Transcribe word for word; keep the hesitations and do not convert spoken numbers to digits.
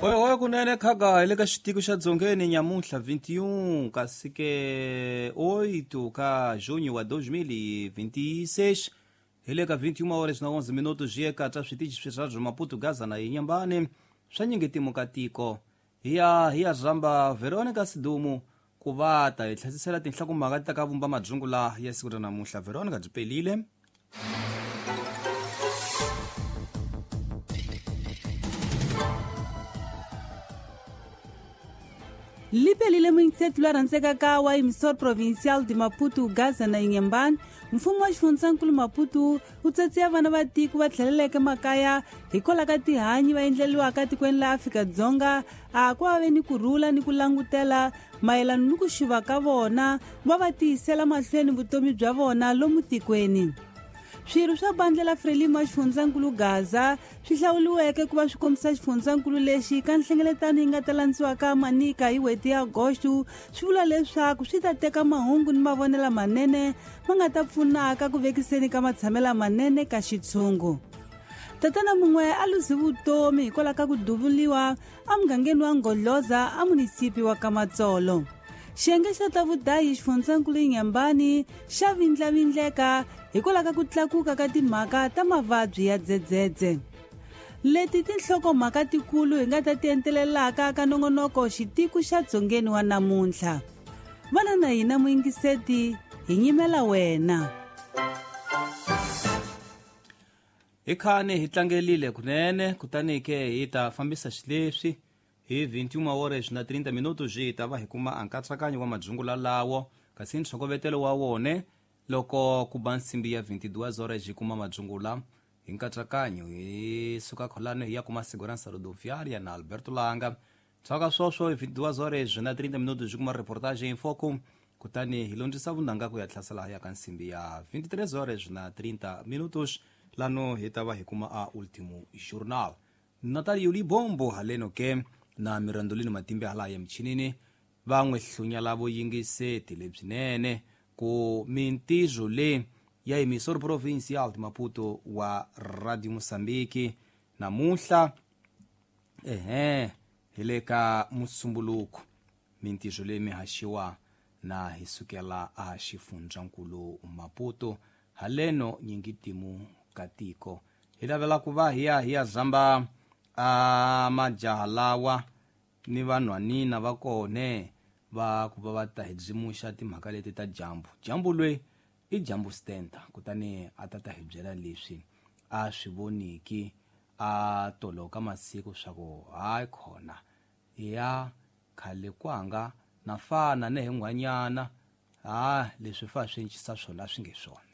Oyo kunene khaga hi le ka xitiko xa dzongeni nyamuntlha vinte e um kasi ke oito ka junho wa dois mil e vinte e seis hi le ka vinte e uma horas na onze minutos eka ta switichi swa Maputo Gaza na Inhambane swa nyingetimu ka tiko hi ya hi ya zamba Veronica Sidumo ku va ta hi tlhasisela tinhlokomhaka ta ka vumba madzungula ya siku ra namuntlha. Veronica byi pelile. Lipelile muingiseti loyi a rhandzekaka wa emissor provincial de Maputo Gaza na Inhambane, mfumo wa xifundzankulu Maputo wu tsatsiya vana va tiko va tlheleleke makaya hikwalaho ka tihanyi va endleriwaka tikweni la Afrika-Dzonga a ku va ve ni ku rhula ni ku langutela mayelana ni ku xuva ka vona va va tiyisela mahlweni vutomi bya vona lomu tikweni. Swirho swa bandla la Frelimo ya xifundzankulu Gaza swi hlawuriweke ku va swi kombisa xifundzankulu lexi ka nhlengeletano yi nga ta landziwaka Manika hi n'hweti ya Agosto swi vula leswaku swi ta teka mahungu ni mavonelo manene ma nga ta pfunaka ku vekiseni ka matshamelo manene ka xitshungu. Tatana mun'we a luzi vutomi hikwalaho ka ku duvuliwa emugangeni wa Ngoloza a munisipi wa Kamatsolo. Xiyenge xa ta vudayi xifundzankulu Inhambane xa vindlavindleka hikwalaho ka ku tlakuka ka timhaka ta mavabyi ya dzedzedze. Leti tinhlokomhaka tikulu hi nga ta ti entelelaka ka nongonoko xitiko xa dzongeni wa namuntlha. Vana na hina muyingiseti hi nyimela wena. Hi khani hi tlangelile kunene kutani ke hi ta fambisa xileswi hi vinte e uma horas na trinta minutos hi ta va hi kuma nkatsakanyo wa madzungula lawo kasi ntshokovetelo wa wone loko ku ba nsimbi ya vinte e duas horas hi kuma madzungula hi nkatsakanyo hi suka kholano hi ya kuma Segurança Rodoviária na Alberto Langa. Tsaka swoswo hi vinte e duas horas na trinta minutos hi kuma reportagem em foco kutani hi londzisa vunanga ku ya tlhasela ya ka nsimbi ya vinte e três horas na trinta minutos lano hi ta va hi kuma a Último Jornal. Natalio Libombo haleno ke na Mirandolino Matimbe hala ya michinini van'we hlunya lavo yingiseti lebyinene ku mintizo le ya emissor provincial de Maputo wa Radio Moçambique namuntlha ehe hi le ka musumbuluko mintizo leyi mi haxiwa na hi sukela a xifundzankulu Maputo haleno nyingitimu ka tiko hi lavela ku va hi ya hi ya zamba a majaha lawa ni vanhwanina va kone va ku va va ta hi byimuxa timhaka leti ta dyambu. Dyambu loyi i dyambu stenta kutani a ta ta hi byela leswi a swi voniki a toloka masiku swa ku hayi khona ya khale kwanga na fana ne hi nghwanyana ha leswi fa swi encisa swona swi nge swona.